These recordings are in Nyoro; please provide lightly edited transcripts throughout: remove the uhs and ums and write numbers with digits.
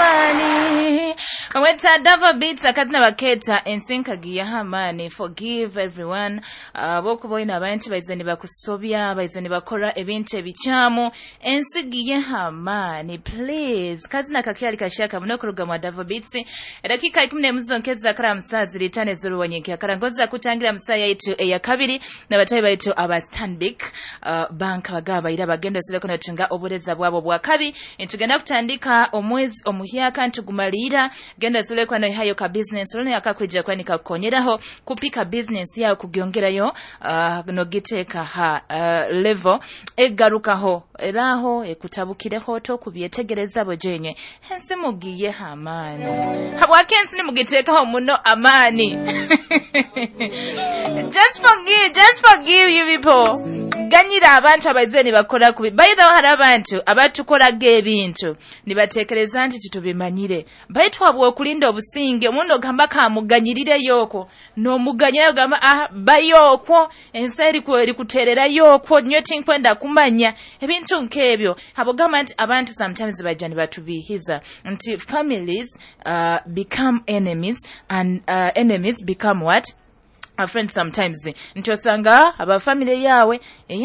Hamani weta Dava Beats, akazina baketa ensinkagiya Hamani. Forgive everyone. Bokuba oyina abantu baize nibakusobya, baize nibakora ebintu ebikyamu, ensigiye Hamani, please. Kazina kakyali kashaka muno kuruga mwa Dava Beats. Edakika 11 zonkeza kara musaa ziri 5 z'oruwanyenke akarangoza kutangira musaa yaitu eyakabiri n'abatayi baitu aba Stanbic Bank bagaba ira bagenda sireko natunga obureza bwabo bwakabi. Ntugenda kutandika omwezi omuhyaka, ntugumalira genda silekwa no hayo ka business loan akakwija kwani kakukonyeraho kupika business yawe kugyongerayo, nogiteeka ha level egarukaho eraho ekutabukireho to kubyetegereza bojenye. Ensi mugiye amaani, habwaki ensi nimugiteekaho muno amaani? Just forgive, just forgive you people. Ganyira abantu abaize nibakora kubi. By the way, hari abantu abatukoraga ebintu nibatekereza nti titubimanyire, baitu habw'okulinda obusinge omuntu ogamba kamuganyirireyo okwo, n'omuganyirayo ogamba ah, bayo okwo ensi erikutererayo okwo, nyo tinkwenda kumanya ebintu nk'ebyo. Habwogamba nti abantu sometimes bajja nibatubiihiza nti families become enemies and enemies become what? A friend sometimes. Nti osanga abafamily yawe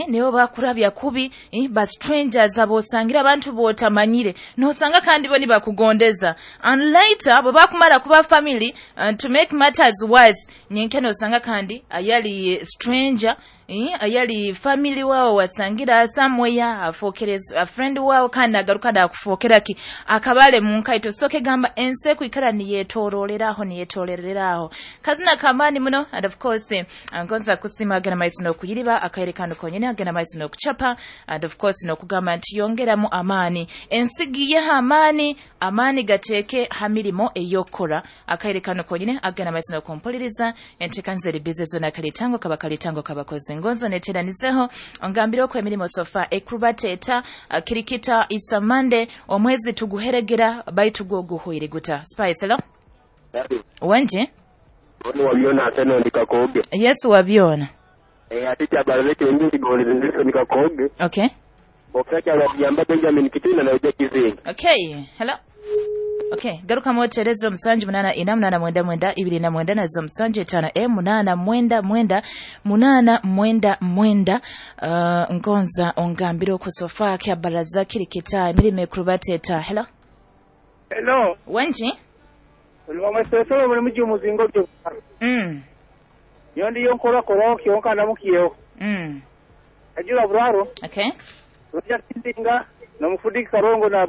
nibo bakurabya kubi, ba strangers abosangira, abantu botamanyire, nosanga kandi bo nibakugondeza, and later bwe bakumara kuba family, to make matters worse, nyenke nosanga kandi ayali stranger, ayali family wawe wasangira somewhere afokere a friend wawe, kandi agaruka nakufokera ki akabale mu nkaito. Soke gamba ensi ekwikara niyetoroleraho, niyetorereraho. Kazina kamani muno. And of course ngonza kusima agenda maiso n'okuyiriba akayerekano konyene, agenda maiso n'okuchapa, and of course n'okugamba nti yongeramu amaani, ensigiyeho amaani, amaani gateeke ha mirimo ey'okukora. Akayerekano konyene, agenda maiso n'okumpuliriza. Enteekaniza eri bize zona kalitango kaba kalitango kabakozi ngonzo neteranizeho ongambire okwo emirimo sofa ekurubateeta. Kirikita isamande omwezi tuguheregera baitu gwo guhwire guta. Spice, hello. Wenje. Ono wabyona ate ndikakoge. Yesu wabyona. Ate kyabaleke ndi ngoleze ndikakoge. Okay. Bokaka yamba Benjamin Kitina na ujja kizinga. Okay, hello. Okay, garuka moterezo 784 899 29 na zo 75 899 899. Ngonza ongambire okusofa kya baraza kirikita emirimo ekurubateeta. Hello. Hello. Wenji. Olwamwesesolo muri mugi umuzingo byo. Yondi yonkora koro kyonka namukiyeho. Ajura buraro. Okay. Rujja kizinga nomufudika karongo na